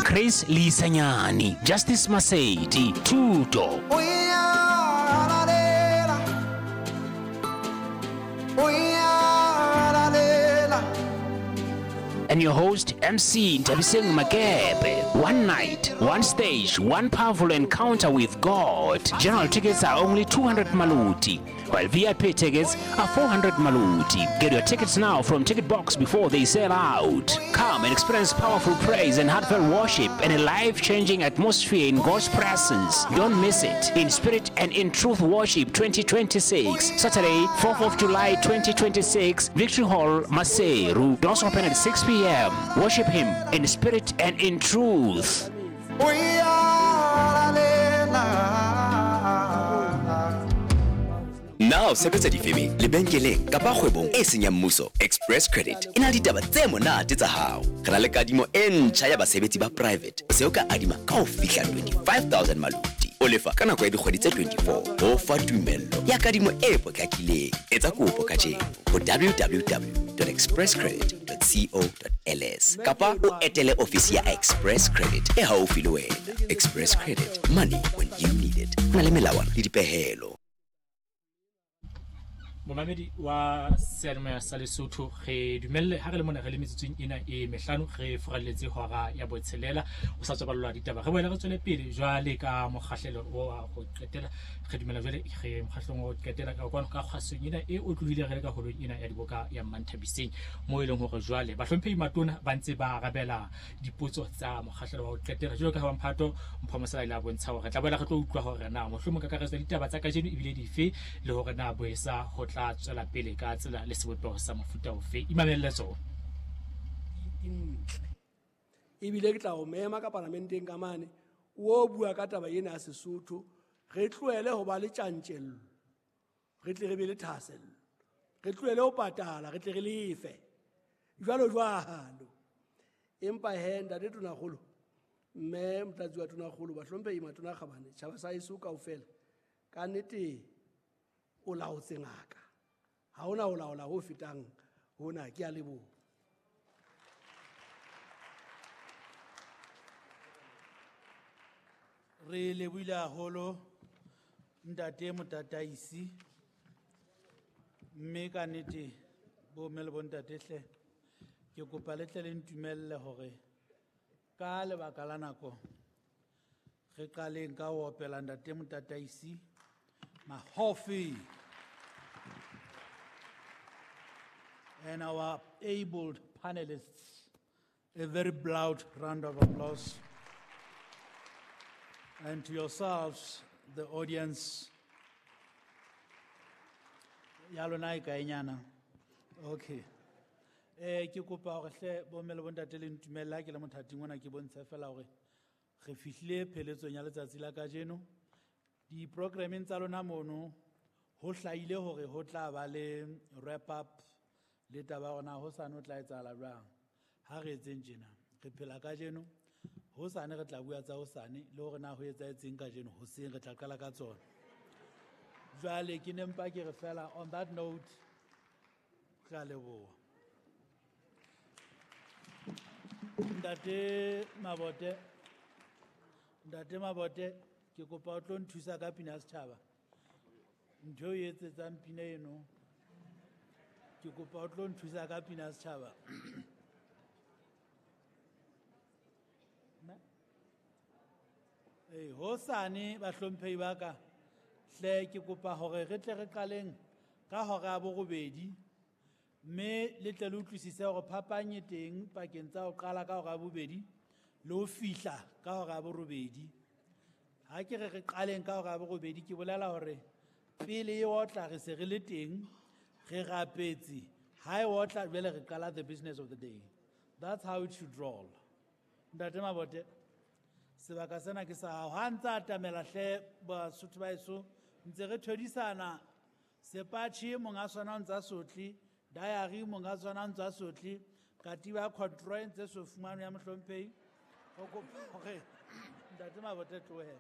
Chris Lisanyani, Justice Masedi, Tuto. And your host, MC Nthabiseng Makepe. One night, one stage, one powerful encounter with God. General tickets are only 200 maluti, while VIP tickets are 400 maluti. Get your tickets now from Ticket Box before they sell out. Come and experience powerful praise and heartfelt worship and a life-changing atmosphere in God's presence. Don't miss it. In Spirit and in Truth Worship 2026, Saturday, 4th of July 2026, Victory Hall, Maseru. Doors open at 6 p.m. Worship Him in spirit and in truth. Now sebetsa difemeng, lebenkeleng kapa kgwebong e seng ya mmuso, Express Credit e na le ditaba tse monate tsa hao. Re na le kadimo e ntjha ya basebetsi ba private. O se o ka adima ka ho fihla 25,000 maluti. O lefa ka nako ya dikgwedi tse 24. Ho fa tumello ya kadimo e potlakileng. Etsa kopo kajeno ho www.expresscredit.co.ls kapa o etele ofisi ya Express Credit e haufi le wena. Express Credit, money when you need it. Ho na le melawana le dipehelo. Momamedi wa seyalemoya sa Lesotho, re dumelle ha re le mona re le metsotsong ena e mehlano, re furalletse hora ya botshelela. O sa tswa ballwa ditaba, re boele re tswele pele jwale ka mokgahlelo wa ho qetela. Re dumela jwale re mokgahlelong wa ho qetela ka kwano ka kgasong ena e otlohile re le ka holong ena ya diboka ya Mmanthabiseng, moo e leng hore jwale bahlomphehi matona ba ntse ba arabela dipotso tsa mokgahlelo wa ho qetela. Jwalo ka ha Mphato Mpho Mosala ile a bontsha hore re tla boela re tlo utlwa hore na mohlomong kakaretso ya ditaba tsa kajeno ebile dife, le hore na boesa ho tla tswela pele ka tsela le sebopeho sa mofuta ofe. Imamelle tsona. Ebile ke tla o mema ka parlamenteng ka mane, o bua ka taba ena ya Sesotho, re tlohele ho ba le tjantjello, re tle re be le thahasello, re tlohele ho patala, re tle re lefe, jwalo jwalo. Empa he, ntate Tonakgolo, mme motlatsi wa Tonakgolo, bahlomphehi matona kgabane, tjhaba sa heso kaofela, ka nnete o laotse ngaka. Ha hona ho laola ho fetang hona. Ke a leboha. Re lebohile haholo ntate Motataisi, mme ka nnete bo mme le bontate hle, ke kopa le tle le ntumelle hore ka lebaka la nako re qaleng ka ho opela ntate Motataisi Mahofi and our abled panelists a very loud round of applause. And to yourselves, the audience, ya lona e kae nyana? Okay. Ke kopa hore hle bo mme le bontate le ntumelle ha ke le mothating ona ke bontshe fela hore re fihlile pheletsong ya letsatsi la kajeno. Di-programmeng tsa lona mono ho hlahile hore ho tla ba le wrap up le taba ya hore na hosane ho tla etsahala jwang. Ha re etseng tjena, re phela kajeno, hosane re tla bua tsa hosane le hore na ho etsahetseng kajeno, hoseng re tla qala ka tsona. Jwale ke ne mpa ke re fela on that note, re a leboha. Ntate Mabote, Ntate Mabote, ke kopa o tlo nthusa ka pina ya setjhaba. Ntho eo e etsetsang pina eno, ke kopa o tlo nthusa ka pina ya setjhaba. Ee, hosane bahlomphehi ba ka, hle ke kopa hore re tle re qaleng ka hora ya borobedi, mme le tle le utlwisise hore phapang e teng pakeng tsa ho qala ka hora ya bobedi le ho fihla ka hora ya borobedi. Ha ke re re qaleng ka hora ya borobedi, ke bolela hore pele e otla re se re le teng, re rapetse. Ha e otla jwale re qala the business of the day. That's how it should roll. Ntate Mabote, sebaka sena ke sa hao. Ha ntse a atamela hle Basotho ba heso, ntse re thodisana sepatjhe monga sona o ntse a sotle, diary monga sona o ntse a sotle, katiba ya control e ntse so fumanwe ya mohlomphehi. Ho kopa hore Ntate Mabote tlohe.